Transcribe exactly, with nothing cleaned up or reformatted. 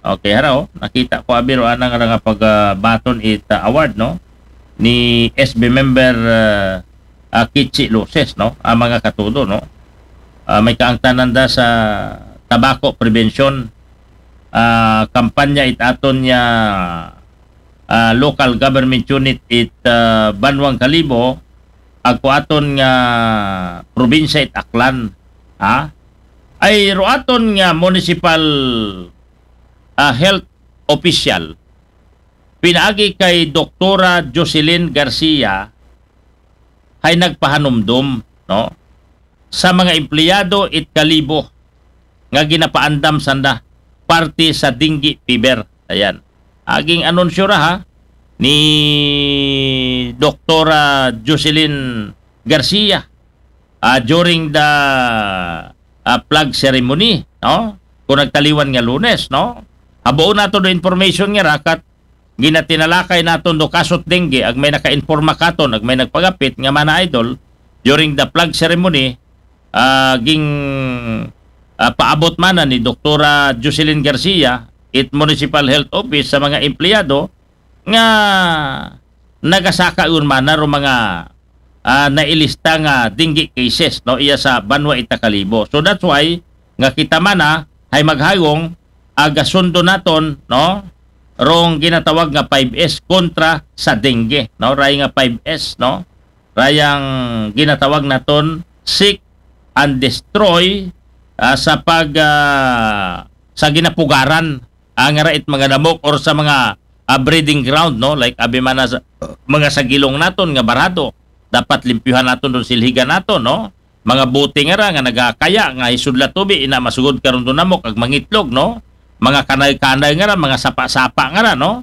Okay, haraw, nakita ko abi ro anang nga pagbaton it, ah, award, no, ni S B member, ah, ah, Kichi Luces, no, ang mga katudo, no. Ah, may kaangtanan da sa tobacco prevention, ah, kampanya it aton nga, ah, local government unit it, ah, Banwang Kalibo, agko aton nga probinsya it Aklan, ha? Ay ro aton nga municipal, ah, health official, pinaagi kay Doktora Jocelyn Garcia, hay nagpahanumdom, no, sa mga empleyado it Kalibo nga ginapaandam sanda parte sa dengue fever. Ayan. Aging anunsyo ra, ha, ni Doktora Jocelyn Garcia, ah, during the, ah, flag ceremony, no? Kung nagtaliwan nga Lunes, no? Habuon nato do information nga rakat ginatinalakay naton do kasot dengue, ag may nakainforma katon, ag may nagpagapit nga mana idol, during the flag ceremony, ah, ging, ah, paabot mana ni Doktora Jocelyn Garcia, it Municipal Health Office sa mga empleyado nga nagasaka yun mana ro mga, ah, nailista nga dengue cases, no, iya sa banwa ita Kalibo. So that's why nga kita mana hay maghayong agasundo naton, no, rong ginatawag nga five S kontra sa dengue, no, ray nga five S, no, rayang ginatawag naton seek and destroy, ah, sa pag, ah, sa ginapugaran, ah, nga ra it mga namok or sa mga, ah, breeding ground, no, like abi mana sa mga sagilong naton nga barado, dapat limpyuhan naton don, silhigan naton, no, mga bote nga ra nga nagakaya nga isudla tubi, ina masugod karon do namok ag mangitlog, no, mga kanay-kanay nga ra, mga sapa-sapa nga ra, no,